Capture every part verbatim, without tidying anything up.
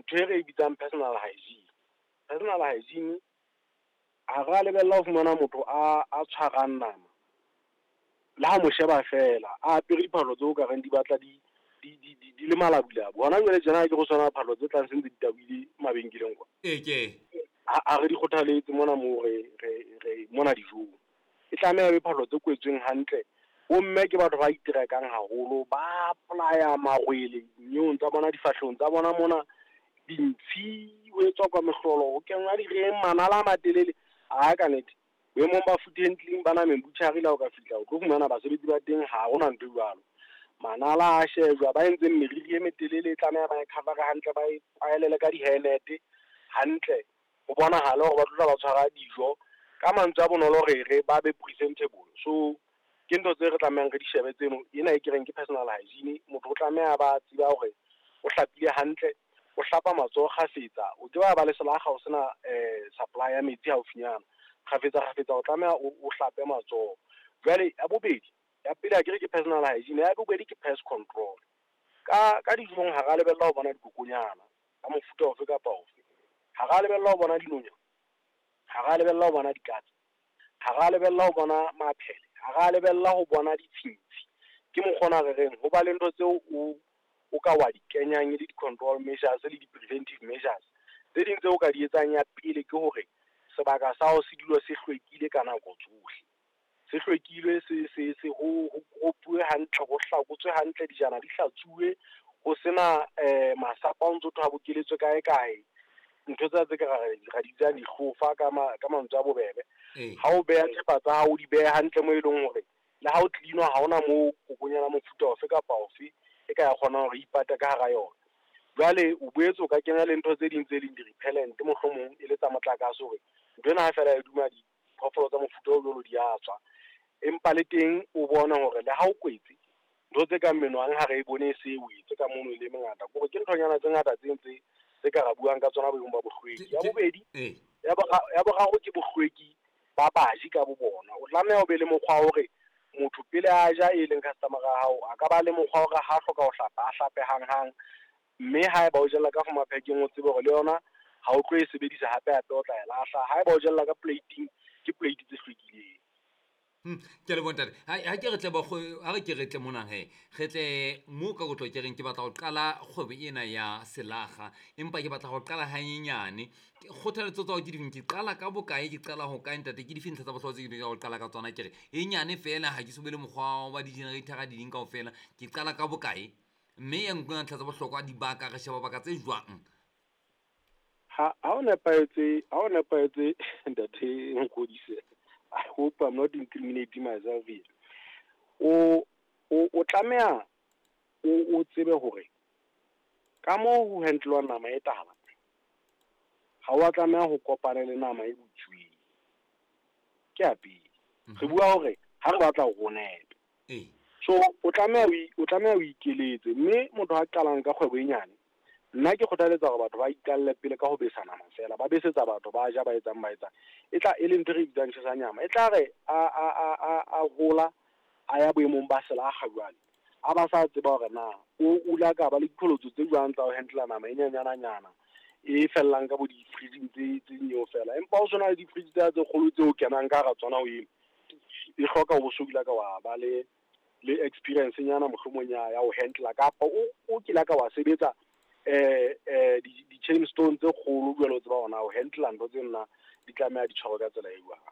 Ntho e re e bitsang personal hygiene. Personal hygiene ha ra lebella ho fumana motho a a tshwarang nama le ha mo sheba feela a apere diphahlo tseo ka reng di batla di di di di di le malabulabu. Hona jwale tjena ke go tshwana phahlo tse tlang se ntse di tabohile mabenkeleng kwa. Ee ke Ha ha re di kgothaletse mona moo re re re mona dijong. E tlameha e be phahlo tse kwetsweng hantle. Bomme ke batho ba iterekang haholo, ba apply-a marwele dinyeong tsa bona, difahlehong tsa bona mona, dintshi ho etswa kwa mehlolo, ho kenngwa direng, manala a matelele. Ha ka nnete boemong ba food handling ba nameng butchery le ha o ka fihla o tlo fumana basebetsi ba teng ha hona ntho e jwalo. Manala a shejwa, ba entseng meriri e metelele e tlameha ba e cover hantle, ba e kwaelele ka di-hairnet hantle. Ho bonahale hore ba tlo tla ba tshwara dijo. Ka mantswe a bonolo re re ba be presentable. So ke ntho tse re tlamehang re di shebe tseno. Ena e ke reng ke personal hygiene. Motho o tlameha ba tseba hore o hlapile hantle, o hlapa matsoho kgafetsa. O ke wa ba le selakga o sena supply ya metsi haufinyana. Kgafetsa kgafetsa o tlameha o o hlape matsoho. Jwale ya bobedi, ya pele akere ke personal hygiene, ya bobedi ke pest control. Ka ka dijong ha ra lebella ho bona dikokonyana ka mofuta ofe kapa ofe. Ha ra lebella ho bona dinonyana, ha ra lebella ho bona dikatse, ha ra lebella ho bona maphele, ha ra lebella ho bona ditshintshi. Ke mokgwa ona re reng ho ba le ntho tseo o o ka wa di kenyang e le di-control measures le di-preventive measures. Tse ding tseo o ka di etsang ya pele ke hore sebaka sa hao se dule se hlwekile ka nako tsohle. Se hlwekile se se se ho ho koropuwe hantle, ho hlakotswe hantle, dijana di hlatsuwe, ho sena masapo a ntso thwe a bokeletswe kae kae. Ntho tsena tse ka ra ra di bitsang dihlofa ka ma ka mantswe a bobebe. Ha o beha thepa tsa hao o di behe hantle moo e leng hore le ha o clean-wa ha hona moo kokonyana mofuta ofe kapa ofe e ka ya kgona hore ipate ka hara yona. Jwale o boetse o ka kenya le ntho tse ding tse leng di-repellent mohlomong e le tsa motlakase hore nthwena ha feela e duma diphoofolo tsa mofuta o jwalo di a tswa. Empa le teng o bone hore le ha o kwetse ntho tse kang menwang ha re e bone e se wetse ka mono e le mengata. Kore ke nthonyana tse ngata tse ntse tse ka ra buang ka tsona boemong ba bohlweki. Ya bobedi, ya ya boraro ke bohlweki ba baji ka bo bona. O tlameha o be le mokgwa wa hore motho pele a ja e leng customer ya hao, a ka ba le mokgwa wa hore ha hloka ho hlapa, a hlape hanghang. Mme haeba o jella ka maphekeng o tsebe hore le yona ha o tlo e sebedisa hape hape o tla e lahla. Haeba o jella ka plate-ing, ke plate tse hlwekileng. Hmm, ke a leboha ntate. Ha ha ke re tle ba ha re ke re tle mona he. Re tle mo ka kotlo ke reng ke batla ho qala kgwebo ena ya selakga, empa ke batla ho qala hanyenyane. Kgothaletso tsa hao ke difeng? Ke qala ka bokae, ke qala ho kae ntate? Ke dife ntlha tsa bohlokwa tse ke ho qala ka tsona? Ke re e nyane feela ha ke so be le mokgwa wa di-generator di ding kaofela. Ke qala ka bokae? Mme e nngwe ya ntlha tsa bohlokwa dibaka re sheba baka tse jwang? Ha ha o nepahetse, ha o nepahetse ntate Ngodise. I hope I'm not incriminating myself here. O o o tlameha o o tsebe hore ka moo ho handle-wa nama e tala, ha wa tlameha ho kopana le nama e butsweng. Ke ya pele. Re bua hore ha re batla hore o nepe. So o tlameha o tlameha o ikeletse, mme motho a qalang ka kgwebo e nyane, nna ke kgothaletsa hore batho ba iqalle pele ka ho besa nama feela, ba besetsa batho ba ja ba etsang ba etsang. E tla e leng ntho e re bitsang tjhesa nyama. E tla re a a a a a hola a ya boemong ba selakga jwale, a ba sa tseba hore na o o la ka ba le diqholotso tse jwang tsa ho handle nama e nyenyana nyana e fellang ka bo di-fridge tse tse nyewe fela. Empa ho sona le di-fridge tsa tse kgolo tseo kenang ka hara tsona ho eno, e hloka o bo so ka wa ba le le experience nyana mohlomong ya ya ho handle kapa o o kile ka wa sebetsa eh eh di di chain stone tse kgolo jwalo o tseba hona ho handle ntho tse nna di tlameha di tshwarwe ka tsela e jwang.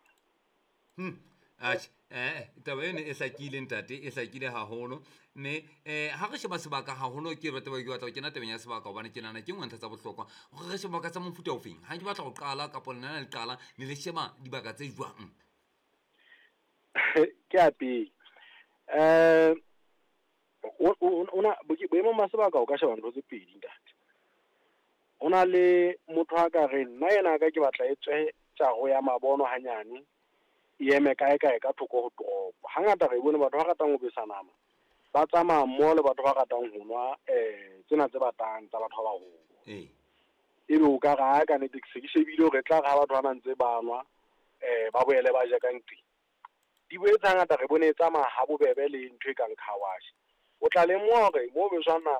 Hmm. Atjhe, eh taba eno e hlakile ntate, e hlakile haholo. Mme eh ha re sheba sebaka haholo ke batla ke batla ho kena tabeng ya sebaka hobane ke nahana ke nngwe ntlha tsa bohlokwa. Hore re sheba baka tsa mofuta ofeng? Ha ke batla ho qala kapa lena le qala ne le sheba dibaka tse jwang? Ke ya pele. Eh o ona boemong ba sebaka o ka sheba ntho tse pedi ntate. Ho na le motho a ka reng nna ena ka ke batla e tswe tjaro ya mabono hanyane, e eme kae kae ka thoko ho toropo. Hangata re bone batho ba ratang ho besa nama ba tsamaya mmoho le batho ba ratang ho nwa eh tsena tse batang tsa batho ba baholo. Ee. Ebe o ka re ha ka nnete ke se ke shebile hore e tla re ha batho ba na ntse ba nwa eh ba boele ba ja ka nqeng. Di boetse hangata re bone e tsamaya ha bobebe le ntho e kang car wash. O tla lemoha hore mo beswang nama